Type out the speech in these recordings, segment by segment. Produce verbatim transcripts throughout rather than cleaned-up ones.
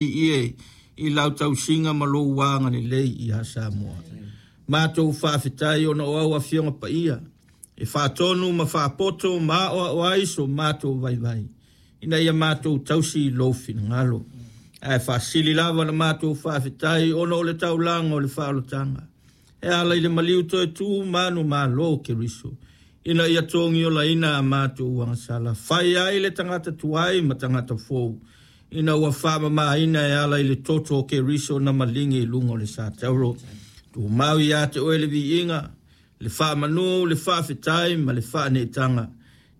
Ie i lau tausiga ma lou agalelei ia Samoa. Matou faafetai ona o au afioga paia e faatonu ma faapoto ma aoao ai so matou vaivai ina ia matou tausi i lou finagalo. Ae faasili lava na matou faafetai ona o le taulaga o le faaolataga e ala i le maliu toe tu manumalo o Keriso ina ia togiolaina a matou agasala, fai ai le tagata tuai ma tagata fou ina ua faamamaina e ala i le toto o Keriso na maligi i luga o le satauro. Tumau ia te oe le viiga, le faamanu, le faafetai ma le faaneetaga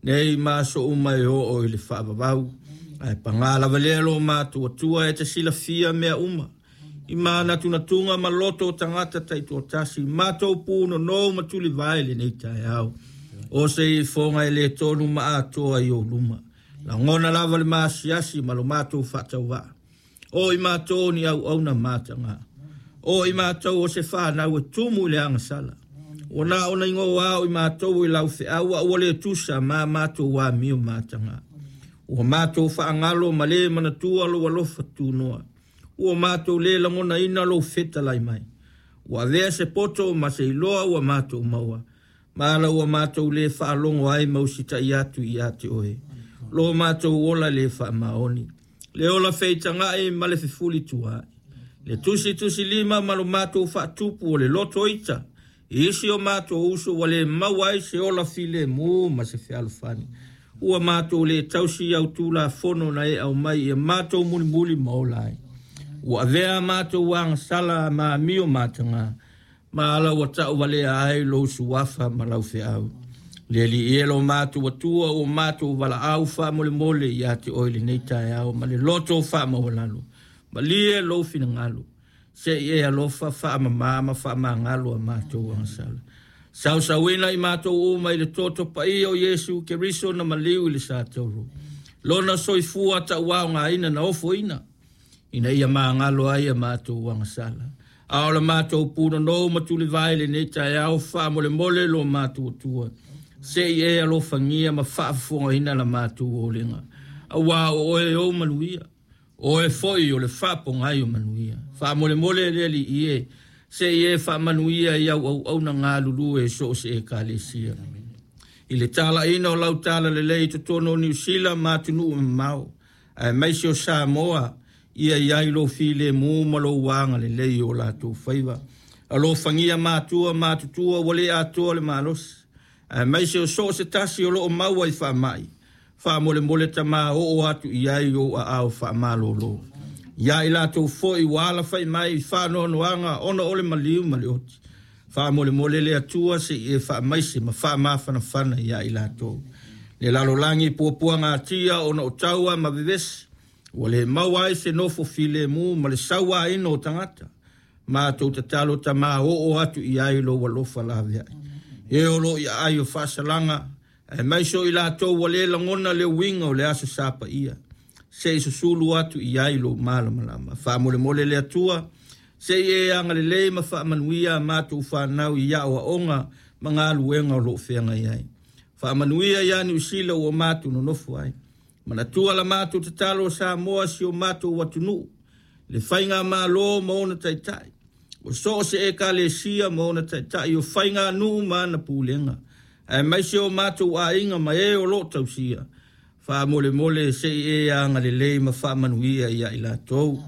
nei ma aso uma e oo i le faavavau. Ae paga lava lea lo matou Atua e te silafia mea uma i manatunatuga ma loto o tagata taitoatasi, matou punonou ma tulivae lenei taeao. O se ifoga e le tonu ma atoa i ou luma. Lagona lava le maasiasi ma lo matou faatauvaa. O i matou ni auauna mataga. O i matou o se whanau e tumu i le agasala. Ua na ona ingoa o i matou i lau feau a ua le tusa ma matou amio mataga. Ua matou faagalo ma le manatua lou alofa tunoa. Ua matou le lagonaina lou fetalai mai. Ua avea se poto ma se iloa ua matou maua. Ma ala ua matou le faalogo ai ma usitai atu ia te oe. Lo matou ola le faamaoni. Le ola feitagai ma le fefulitua. Le tusi tusi lima ma lo matou faatupu o le loto ita. I isi o matou uso ua le maua ai se ola filemu ma se fealofani. Ua matou le tausi au tulafono na e aumai ia matou mulimuli ma ola ai. Ua avea matou agasala ma amio mataga. Ma ala ua tauvalea ai lou suafa ma lau feau. Le Alii e lo matou Atua ua matou valaau faamolemole ia te oe lenei taeao ma le loto faamaualalo. Malie lou finagalo. Se i e alofa faamama ma faamagalo a matou agasala. Sausauina i matou uma i le toto paia o Iesu Keriso na maliu i le satauro. Lona soifua tauaogaina na ofoina ina ia magalo ai a matou agasala. A o la matou punonou ma tulivae lenei taeao faamolemole lo matou Atua. Se i e alofagia ma faafofogaina la matou olega. Auā o oe ou manuia. O oe foi o le faapogai o manuia. Faamolemole le Alii e se i e faamanuia i au auauna galulue so o se ekalesia. I le talaina o lau talalelei i totonu o Niu Sila ma atunuu mamao, aemaise o Samoa, ia i ai lou filemu ma lou agalelei o latou faiva. Alofagia matua matutua ua le atoa le malosi, aemaise o so o se tasi o loo maua i faamai. Faamolemole Tamā oo atu i ai ou aao faamalolo. Ia i latou foi ua alafai mai i faanoanoaga ona o le maliu ma le oti. Faamolemole le Atua se i e faamaise ma faamafanafana ia i latou. Le lalolagi puapuagatia ona o taua ma vevesi. Ua le maua ai se nofo filemu ma le sauaina o tagata. Matou tatalo Tamā oo atu i ai lou alofa laveai. E o lo i ai o faasalaga, aemaise o i latou ua le lagona le uiga o le aso Sa paia. Se i susulu atu i ai lou malamalama. Faamolemole le Atua, se i e agalelei ma faamanuia a matou whanau i aoaoga ma galuega o loo feagai ai. Faamanuia ia Niu Sila ua matou nonofo ai. Manatua la matou tatalo o Samoa si o matou atunuu. Le faigamalo ma ona taitai. O so o se ekalesia ma ona taitai o faiganuu ma ana pulega. Aemaise o matou aiga ma e o loo tausia. Faamolemole se i e agalelei ma faamanuia ia i latou.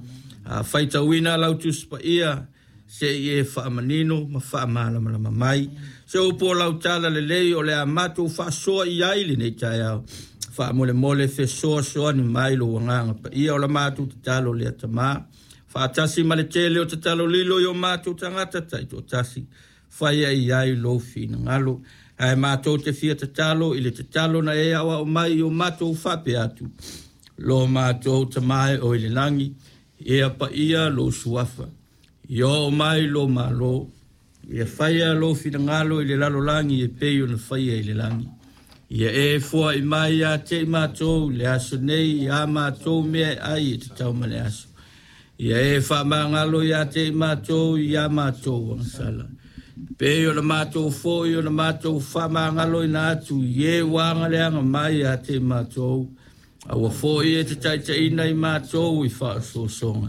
A faitauina lau Tusi Paia se i e faamanino ma faamalamalama mai. Se upu o lau talalelei o le a matou faasoa i ai lenei taeao. Faamolemole fesoasoani mai lou agaga paia o la matou tatalo lea Tamā. Faatasi ma le tele o tatalo lilo i o matou tagata taitoatasi. Faia i ai lou finagalo. Ae matou te fia tatalo i le tatalo na e aoao mai i o matou faapea atu. Lo matou Tamā e o i le lagi, ia paia lou suafa. Ia oo mai lou malo. Ia faia lou finagalo i le lalolagi e pei ona faia i le lagi. Ia e foai mai ia te i matou le aso nei a matou mea e ai e tatau ma le aso. Ia e faamagalo ia te i matou ia matou agasala. Pei o le matou foi o le matou faamagaloina atu i e ua agaleaga mai ia te i matou. Aua foi e te taitaiina i matou i faaosoosoga.